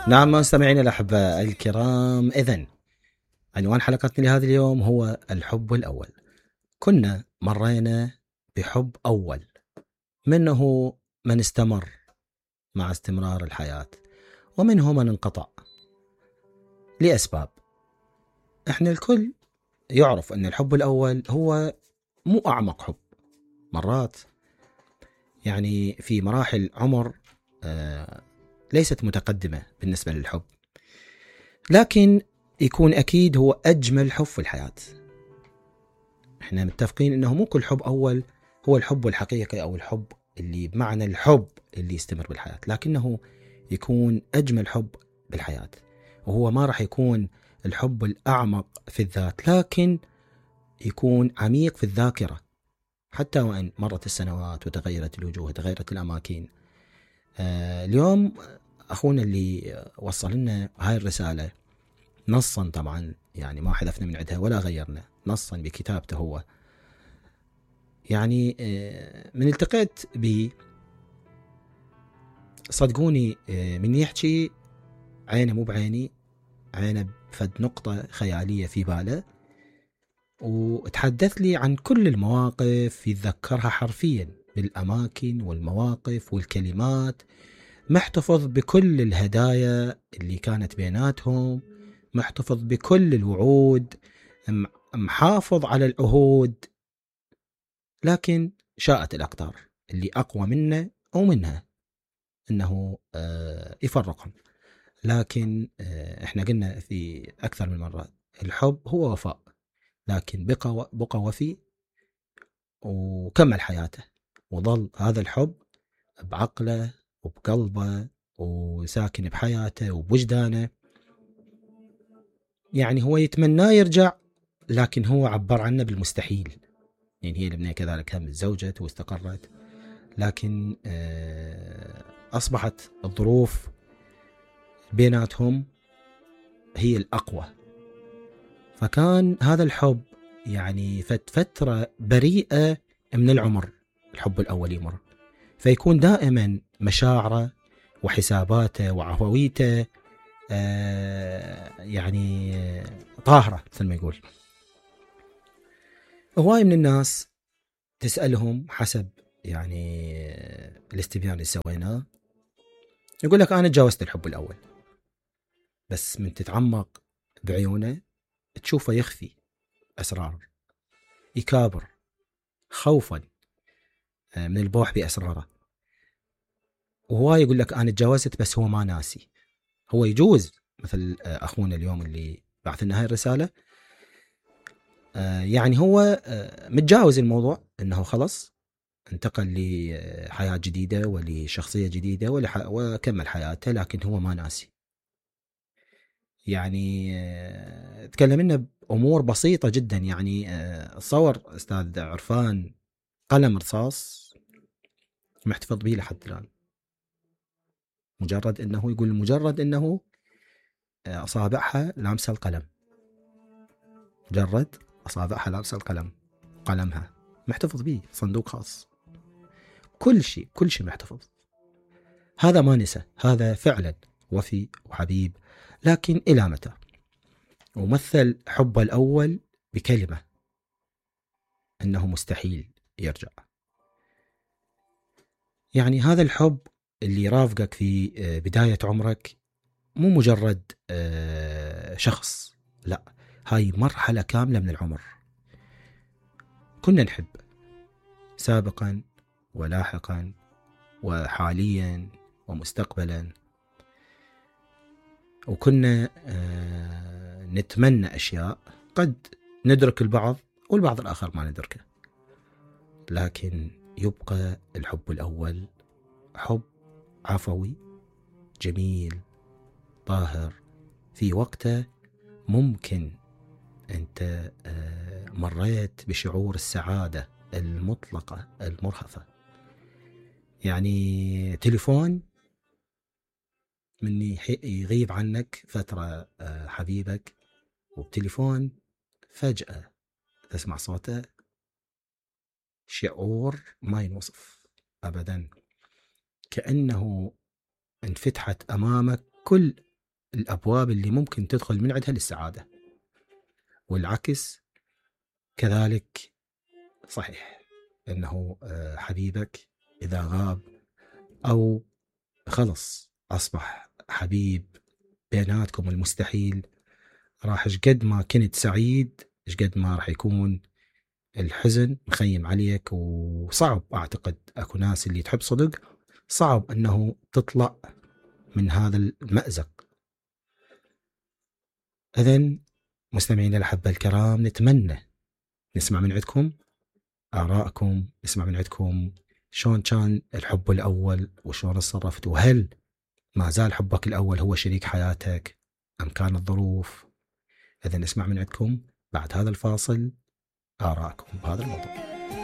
نعم مستمعينا الأحباء الكرام، إذن عنوان حلقتنا لهذا اليوم هو الحب الأول. كنا مرينا بحب أول، منه من استمر مع استمرار الحياة، ومنه من انقطع لأسباب. احنا الكل يعرف أن الحب الأول هو مو أعمق حب. مرات يعني في مراحل عمر ليست متقدمة بالنسبة للحب، لكن يكون أكيد هو أجمل حب في الحياة. احنا متفقين أنه مو كل حب أول هو الحب الحقيقي أو الحب اللي بمعنى الحب اللي يستمر بالحياة، لكنه يكون أجمل حب بالحياة، وهو ما راح يكون الحب الأعمق في الذات، لكن يكون عميق في الذاكرة. حتى وإن مرت السنوات وتغيرت الوجوه وتغيرت الأماكن. اليوم أخونا اللي وصل لنا هاي الرسالة نصا، طبعا يعني ما حذفنا من عندها ولا غيرنا، نصا بكتابته هو. يعني من التقيت ب صدقوني من يحكي عينه مو بعيني، عينه بفد نقطة خيالية في باله، وتحدث لي عن كل المواقف يتذكرها حرفيا بالأماكن والمواقف والكلمات، محتفظ بكل الهدايا اللي كانت بيناتهم، محتفظ بكل الوعود، محافظ على العهود، لكن شاءت الأقدار اللي أقوى منه أو منها أنه يفرقهم. لكن إحنا قلنا في أكثر من مرة الحب هو وفاء، لكن بقى وفي وكمل حياته، وظل هذا الحب بعقله وبقلبه وساكن بحياته وبوجدانه. يعني هو يتمنى يرجع، لكن هو عبر عنه بالمستحيل. يعني هي الابنية كذلك هم تزوجت واستقرت، لكن أصبحت الظروف بيناتهم هي الأقوى. فكان هذا الحب يعني فترة بريئة من العمر، الحب الأول يمر، فيكون دائما مشاعره وحساباته وعفويته يعني طاهرة مثل ما يقول. هواي من الناس تسألهم حسب يعني الاستبيان اللي سويناه، يقول لك أنا تجاوزت الحب الأول، بس من تتعمق بعيونه تشوفه يخفي أسرار، يكابر خوفا من البوح بأسراره. وهو يقول لك أنا تجاوزت بس هو ما ناسي. هو يجوز مثل أخونا اليوم اللي بعث لنا هاي الرسالة، يعني هو متجاوز الموضوع، أنه خلص انتقل لحياة جديدة ولشخصية جديدة وكمل حياته، لكن هو ما ناسي. يعني تكلمنا بأمور بسيطة جدا. يعني صور أستاذ عرفان قلم رصاص محتفظ به لحد الآن، مجرد أنه يقول مجرد أنه أصابعها لامسة القلم، مجرد أصابعها لامسة القلم، قلمها محتفظ به، صندوق خاص، كل شيء محتفظ. هذا ما نسى، هذا فعلا وفي وحبيب. لكن إلى متى؟ ومثل حبه الأول بكلمة أنه مستحيل يرجع. يعني هذا الحب اللي رافقك في بداية عمرك مو مجرد شخص، لا، هاي مرحلة كاملة من العمر. كنا نحب سابقا ولاحقا وحاليا ومستقبلا، وكنا نتمنى أشياء قد ندرك البعض والبعض الآخر ما ندركه، لكن يبقى الحب الأول حب عفوي جميل طاهر. في وقته ممكن أنت مريت بشعور السعادة المطلقة المرهفة. يعني تليفون من يغيب عنك فترة حبيبك، وبتليفون فجأة تسمع صوته، شعور ما ينوصف أبدا، كأنه انفتحت أمامك كل الأبواب اللي ممكن تدخل من عندها للسعادة، والعكس كذلك صحيح، أنه حبيبك إذا غاب أو خلص أصبح حبيب بيناتكم المستحيل، راح شقد ما كنت سعيد شقد ما راح يكون الحزن مخيم عليك. وصعب أعتقد أكو ناس اللي تحب صدق صعب أنه تطلع من هذا المأزق. إذن مستمعين الأحبة الكرام، نتمنى نسمع من عندكم آراءكم، نسمع من عندكم شلون كان الحب الأول وشلون تصرفت، وهل ما زال حبك الأول هو شريك حياتك أم كانت ظروف. إذن نسمع من عندكم بعد هذا الفاصل آراءكم بهذا الموضوع.